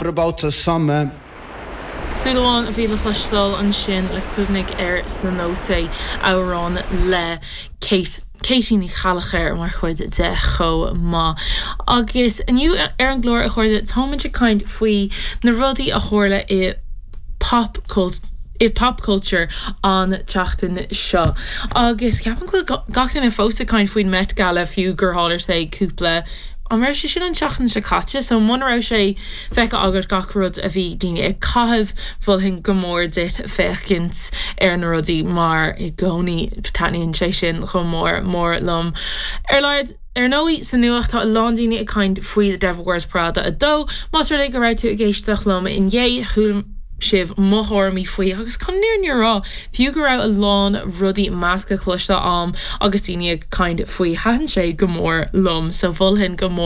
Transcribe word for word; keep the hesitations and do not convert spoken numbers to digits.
For about the summer. Súil a bhí le cloisteáil ansin le cuimhnigh ar sna nótaí amhrán le Kate Katie Ní Cheallachair mar chuid de chomh maith. Agus inniu ar an gclár a chairde táimid ag caint faoi na rudaí a tharla i pop cult i pop culture an tseachtain seo. Agus ceapaim go bhfuil gach duine fós ag caint faoin Met Gala fiú gur tharla sé cúpla an raibh sé sin an tseachtain seo caite, so mura raibh sé feicthe agat gach rud a bhí daoine ag caitheamh mholfainn go mór duit féachaint ar na rudaí mar i gcónaí taitníonn sé sin chomh mór mór liom. Ar leid Ar ndóigh sa nuacht tá a lán daoine ag caint faoi The Devil Wears Prada a dó, Más rud é go raibh tú ag éisteacht liom inné chuala sibh mo thuairimí faoi agus chun an fhírinne a rá fiú go raibh a lán rudaí measctha cloiste agam agus daoine ag caint faoi thaitin sé go mór liom so mholfainn go mór